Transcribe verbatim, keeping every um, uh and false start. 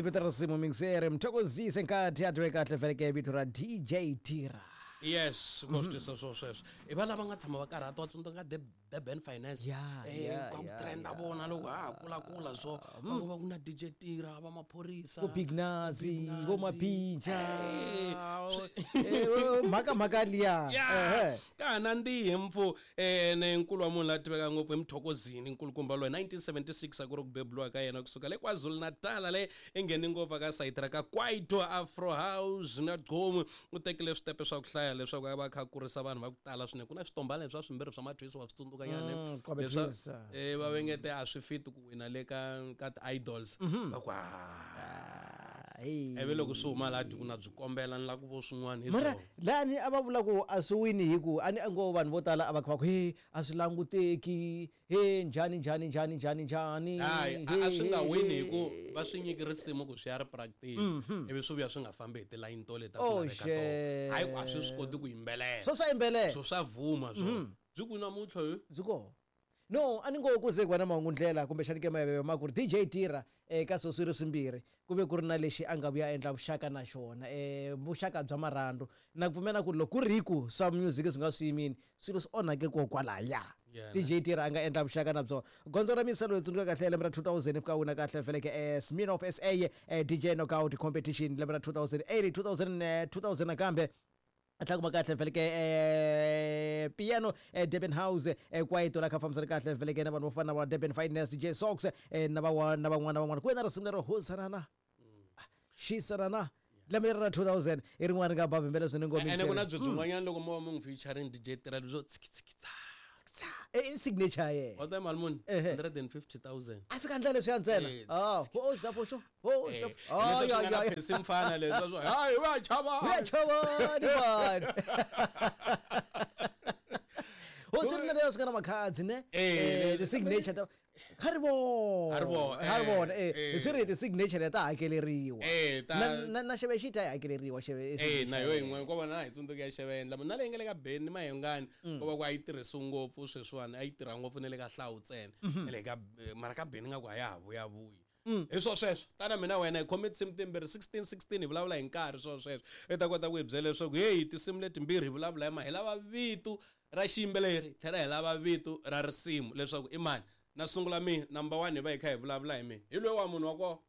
Vito ra risimu mixere Mthokozisi nkathi a tiwe kahle vhele vito ra D J Tira. Yes, ko swi twisa swo sweswo. I va lava nga tshama va karhata wa tsundzuka Durban Finance. Yeah, Eh, yeah, ka ku yeah, trenda yeah. vona loko ha kula kula so. Va ku va ku na D J Tira, va maphorisa. Vo Big Nazi, vo Mapinja. Eh, Eh, mhaka mhaka liya. Yeah. Ehe. Ka ha nandzihi mpfu, eh, ne nkulu wa munhu la tiveka ngopfu i Mthokozini, nkulukumba loyi nineteen seventy-six a ku ri ku beburiwa ka yena kusuka le KwaZulu-Natal le i nghene ngopfu ka sayiti ra ka Kwaito, Afro House na Gqom. U tekile switepe swa ku hlaya leswaku a va kha a kurisa vanhu va ku tala swinene. Ku na switombana leswi swa swimbirhi swa mathwisi wa swi tsundzuka nyana, ne? Mm, Kwabe Leswa, Twins. eh, va vengete a swi fiti ku wina le ka, ka ti-idols. Mhm. Va ku, ah. Hey. Ivi loko swi huma laha ku na byi kombela ni lava ku vo swin'wana hi Mara byona. lani a va vula ku a swi wini hi ku a ni a ngo vanhu vo tala a va kha va ku he a swi languteki, he njhani njhani njhani njhani njhani. Hayi, a, a swi nga He, wini he. hi ku va swi nyiki risimu ku swi ya ri practice. Mhm. Ivi swi vuya swi nga fambi hi tilayini to leti a Oh, swi laveka tona. Hayi, a swi swi shit. koti ku yimbelela. Swo swa yimbelela. Swo swa vuma swona. Mhm. Byi ku namuntlha he? Byi kona. No, a ni ngo ku ze ku va na mahungu ndlela kumbexani ke mayeveve ma ku ri D J Tira eka swo swirho swimbirhi ku ve ku ri na lexi a nga vuya endla vuxaka na xona, eh, vuxaka bya marhandu. Na ku pfumela ku loko ku ri ku swa music swi nga swi yimini, swilo swi onhake kokwalaya. Yeah, D J Tira a nga endla vuxaka na byona. Gondzo ra Misalo hi tsundzuka kahle lembe ra two thousand fika wina kahle feleke, eh, Smirnoff S A, eh, D J Knockout Competition lembe ra two thousand eight, two thousand, eh, two thousand nakambe. A tlhela kuma kahle feleke, eh, piano, eh, Durban House, eh, Kwaito la kha fambisana kahle feleke na vanhu vo fana na va Durban Finance, D J Socks, eh, na van'wana, na van'wana, na van'wana. Ku ve na risimu lero Hosanana. Xisanana. Lembe leri ra two thousand i rin'wana ri nga ba bembele swinene ngopfu. Ene ku na Mm. byo byin'wanyana loko mo va mi n'wi featuring D J Tira byo tshiki tshiki tsa. Eh, i signature ya yena. Wa ta mali muni? Ehe. hundred and fifty thousand. A fika ndlela leswiya ntsena. Eh, Ah, tshiki, tshiki, ho za fo xo, ho za Eh, fo. Ah, leswi ya, swi nga na ya, ya. Percy Mfana leswi swa, hayi, wa chava. Wa chava ni vanhu. Ho swi ri na leswi nga na makhadzi, ne? Eh, Eh, leswi- ti-signature ta kha ri vona. Ha ri vona, Ha ri vona, eh, eh. eh. Swi ri ti-signature leti ta hakeleriwa. Eh, ta- Na, na, na xeve xi ta yi hakeleriwa, xeve, Eh, signature na yo yaleyo. yin'wana, ko va na hi tsundzuka ya xeve endla. Na leyi nga le ka Benny Mayengani, Mm. ko va ku a yi tirhisiwi ngopfu sweswiwani, a yi tirha ngopfu na le ka Hlawu ntsena. Mhm. Na le ka, eh, mara ka Benny nga ku a ya ha vuyavuyi. Mm. Hi swo sweswo, tana mina wena hi khome tinsimu timbirhi, sixteen sixteen hi vulavula hi nkarhi swo sweswo. I ta kota ku hi byela leswaku hey, tinsimu letimbirhi hi vulavula hi ma, hi lava vito ra xiyimbeleri, tlhela hi lava vito ra risimu leswaku i mani. Na sungula mina, number one hi va hi kha hi vulavula hi mina. Hi loyi wa munhu wa kona.